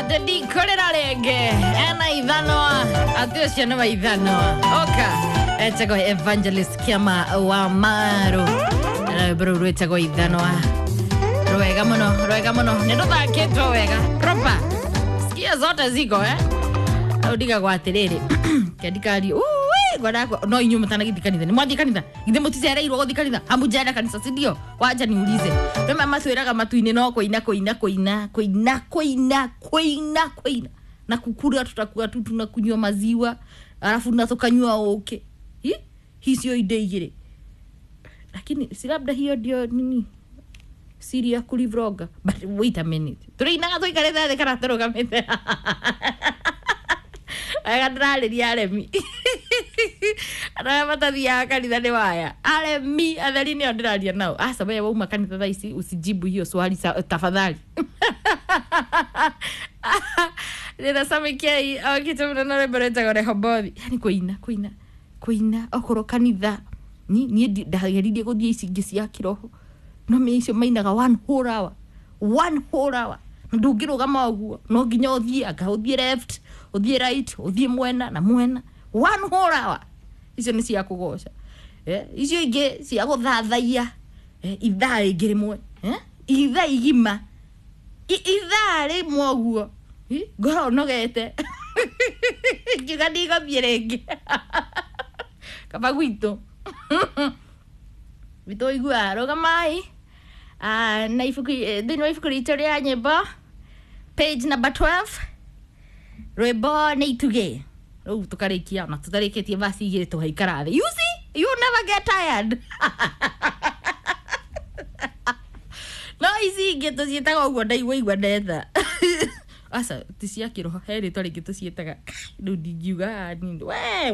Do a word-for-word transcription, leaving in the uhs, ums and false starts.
Ndikorera rĩngĩ ena ithanwa atĩ ũcio nĩ wa ithanwa oka etagwo Evangelist Kiama wa Maru na rwĩmbo rũu rwĩtagwo Ithanwa. Rwega mũno, rwega mũno, nĩ rũthakĩtwo wega proper, sikia zote ziko eh rĩu ndigagwo atĩrĩrĩ kendikario ngwenda no inyuĩ mũtanagĩthiĩ kanitha nĩ mwathiĩ kanitha githĩ mũticereirwo gũthiĩ kanitha hamujaenda kanitha si ndio wanja niulize rĩmwe matwĩraga matu-inĩ no kũina kũina kũina kũina kũina kũina kũina na kukura tutakuwa tu tunakunywa maziwa alafu na tukanyua ũkĩ. Hi? Hicio indo igĩrĩ, lakini si labda hiyo ndio nini siri ya kulivroga. But wait a minute, tũrĩinaga tũikarĩte thĩ kana tũrũgamĩte? Wega ndĩrarĩria aremi andũ arĩa matathiaga kanitha nĩ waya aremi atheri nĩo ndĩraria nao. Aca we wauma kanitha thaa ici usijibu hiyo swali sa, tafadhali. Rĩra Samikei okĩte mũno na rwĩmbo rwĩtagwo Rehobothi. Yani kũina kũina kũina okorwo kanitha ni niĩ ndageririe gũthiĩ ici ingĩ cia kĩroho no mĩ icio mainaga one whole hour, one whole hour, na ndũngĩrũgama ũguo, no nginya ũthiĩ anga ũthiĩ left, ũthiĩ right, ũthiĩ mwena na mwena, one whole hour. Icio nĩ cia kũgoca. Eh, icio ingĩ cia gũthathaiya, eh, ithaa rĩngĩ rĩmwe, eh, ithaa igima. I- ithaa rĩmwe ũguo. Hi, ngoro nogete ngiuga ndigothiĩ rĩngĩ kaba gwitũ witũ ũiguaga rũgamai. Ah, na ibuku thĩinĩ wa ibuku ritũ rĩa nyĩmbo page number twelve rwĩmbo nĩ itugĩ rĩu tũkarĩkia ona tũtarĩkĩtie verse igĩrĩ tũgaikara thĩ. You see, you never get tired. No ici ingĩ tũciĩtaga ũguo ndaigua igua ndetha aca ti cia kĩroho he rĩtwa rĩngĩ tũciĩtaga rĩu ndingiuga nini we.